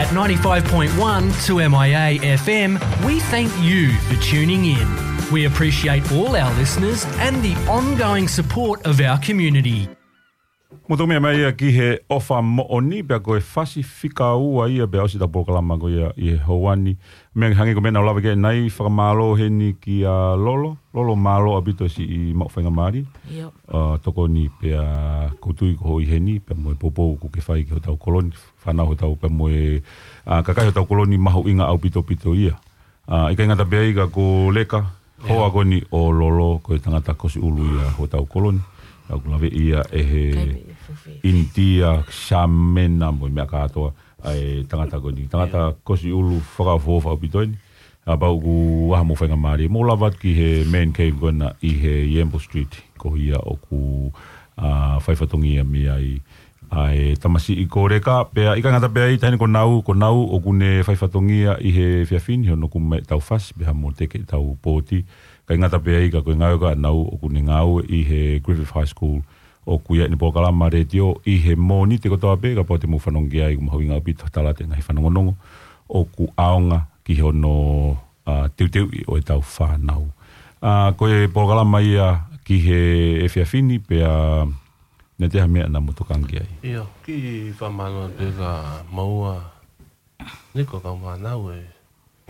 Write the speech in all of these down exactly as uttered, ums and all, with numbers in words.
At ninety-five point one two M I A F M, we thank you for tuning in. We appreciate all our listeners and the ongoing support of our community. Mo tō meʻa mai ia ki he ʻOfa Moʻoni, pea ko e fasi fika ua ia pea ʻosi ʻetau polokalama ko ia ʻi he houa ni. Meʻa hangē ko e meʻa naʻa ku lave ki ai, fakamālō heni kia Lolo. Lolo, mālō ʻaupito siʻi maʻu faingamālie. ʻIo. ʻA, tokoni pea ʻoku ou tui ko hoʻo ʻi heni, pea mo e poupou ʻoku ke fai ki hotau kolo ni, fānau hotau pea mo e, ʻa, kakai hotau kolo ni mahuʻinga ʻaupito ʻaupito ia. ʻA, ʻikai ngata pē ai ka ko Leka, hoa ko eni ʻo Lolo, ko e tangata Kosi ʻUlu ia hotau kolo ni. ʻOku lave ia ʻe he ʻInitia, Sāmena mo e meʻa kātoa, ʻa e tangata ko eni. Tangata Kosi ʻUlu fakaʻofoʻofa ʻaupito eni. ʻA, pea ʻoku ʻi ai haʻamou faingamālie. Mou lava atu ki he Man Cave ko ena ʻi he Yambo Street. Ko ia ʻoku, ʻa, fai fatongia mei ai ʻa e tamasiʻi ko Leka, pea ʻikai ngata pē ai, taʻahine ko Nau, ko Nau ʻoku ne fai fatongia ʻi he efiafi ni, hono kumi mai ʻetau fasi, pea mo teke ʻetau pōti. ʻIkai ngata pē ai ka ko e ngāue ko ē ʻa Nau ʻoku ne ngāue ʻi he Griffith High School, ʻoku ʻi ai ʻene polokalama letiō ʻi he Mōnite kotoa pē, kapau te mou fanongo ki ai, ʻoku mahuʻinga ʻaupito tala atu e ngaahi fanongonongo ʻoku ʻaonga ki hono, ʻa, teuteuʻi ʻo ʻetau fānau. ʻA, ko e polokalama ia ki he efiafi ni pea naʻe ʻi ai ha meʻa naʻa mou tokanga ki ai. ʻIo, kiʻi fakamālō atu pē kia Maua, Niko, kau Mānau, e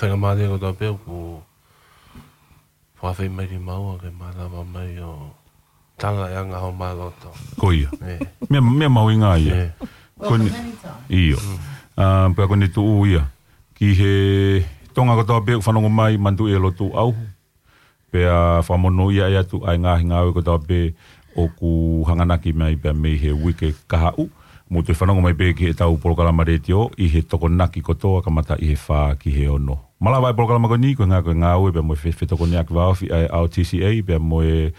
faingamālie kotoa pē ʻoku fakafeʻiloaki mai ki Maua ke malava mai ʻo tala e anga homau loto. Ko ia. ʻE. Meʻa, meʻa mahuʻinga ia. ʻE. Ko eni, ʻio. ʻA, pea ko eni tuʻu ia ki he Tonga kotoa pē ʻoku fanongo mai, manatuʻi e lotu ʻauhu. Pea fakamonūʻia atu ʻa e ngaahi ngāue kotoa pē ʻoku hanganaki mai pea mei he uike kahaʻu. Mou toe fanongo mai pē ki heʻetau polokalama letiō ʻi he Tokonaki kotoa kamata ʻi he fā ki he ono. Malava e polokalama ko eni, ko e ngā-, ko e ngāue pea mo e fe-, fetokonia ki vāofi ʻa e R T C A pea mo e,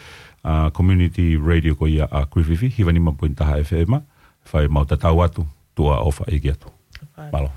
ʻa, Community Radio ko ia ʻa Griffith, hiva nima poini taha F M. Fai mau tatau atu, tuʻa ʻofa ʻeiki atu. Mālō.